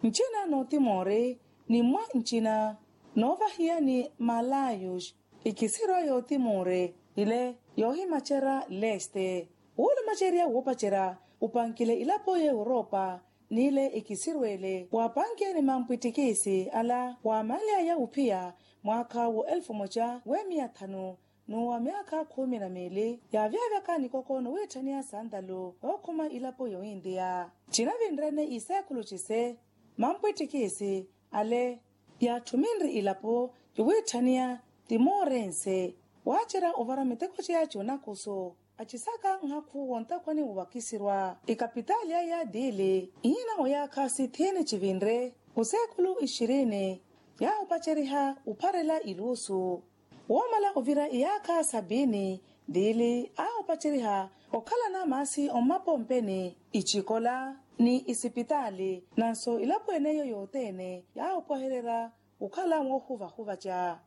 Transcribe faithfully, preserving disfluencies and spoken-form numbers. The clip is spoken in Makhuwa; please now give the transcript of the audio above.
Ncina n'otimori ni mwa ncina n'ovahiyani malayus ikisirwa y'otimori ile yoohimacerya leste woolumacerya woopacerya upankile ilapo y'europa. N'ile ikisirw'ele waapankeni mampwittikisi ala waamanly'aya uphiya mwaakha wo elfu moca w'emiya thanu n'uwa myaakha khumi na miili yaavyavyaka nikoko nowiitthaniya santalu ookhuma ilapo y'ointiya. Cinavinrene iseekulu cise mampwittikisi ale yaatthuminri ilapo yowiitthaniya timorense waacerya ovara miteko ceya c'onakuso acisaka nhakhu wontakhwani wowakisirwa ikapitaali aya tiili ihiina oyaakha sithini civinre oseekulu ixirini yaahupaceriha opharela iluusu. Woomala ovira iyaakha sapiini tiili aahupaceriha okhalana maasi ommapompeni icikola ni isipitaali nanso ilapo eneiyo yothene yaahupwahererya okhala woohuvahuvaca.